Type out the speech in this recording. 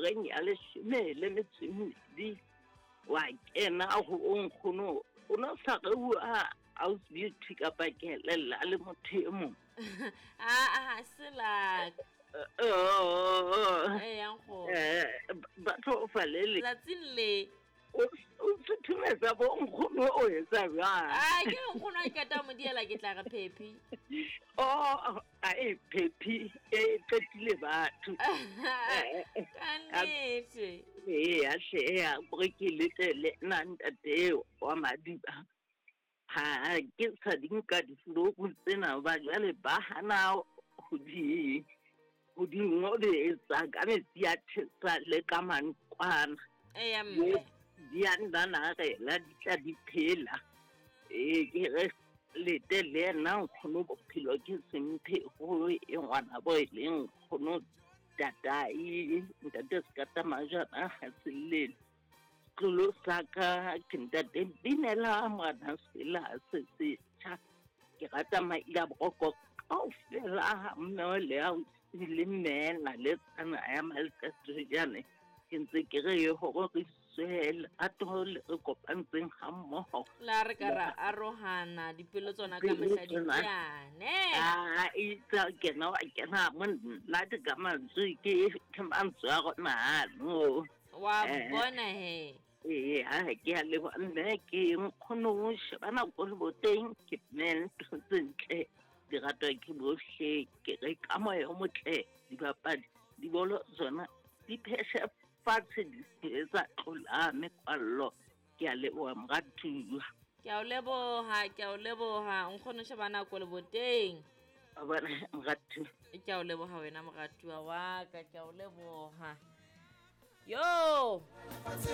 Horeng ya leshome le metso e mmedi wa kena ho nkgono, o no sa re bua house beauty kapa ke elella le motho e mong. Aa, se laka. Oh, Ee, ya nkgono. Ba tlo fa le le. Tsatsing le. O suthumetsa bo nkgono o etsa jwang? A ke nkgono a qeta mo diela ke tla re phephi. Oh, a e phephi e qetile batho. Ka nnete. Ee, a hle a gore ke lete le nna ntate wa Madiba. Ha ke sa di nka difoloku tsena ba jwale ba hana ho di ho di ngoletsa ka metsi a tjhesa le ka mantlwana. Eya mme. Di a nnanarela di tla di phela. Ee, ke re lete le yena nkgono bophelo ke semphe go e ngwana bo e leng nkgono tatai ntate Sekata Majana ha se llele. Setlolo sa ka ke ntate binela ngwana sela se setjha. Ke rata maila boroko kaofela mme le ausi le mmela le tsana ya malqetjane. Ke ntse ke re hore re swe lerato le re kopantseng ha mmoho. La re ka ra arohana dipelo tsona ka mehla di teane. A itse kena wa kena monate ka mantswe ke ke mantswe a rona ano. Wa bona he. Ee, ha ke a leboha mme ke nkgono o sheba nako le boteng ke mme ntho tse ntle di ratwa ke bohle ke re ka moya o motle dibapadi dibolo tsona di pheshe fatshe di se tsa tlola mekwallo ke a leboha moratuwa. Ke a o leboha, ke a o leboha nkgono sheba nako le boteng. Wa bona moratuwa. Ke a o leboha wena moratuwa wa ka, ke a o leboha. Yo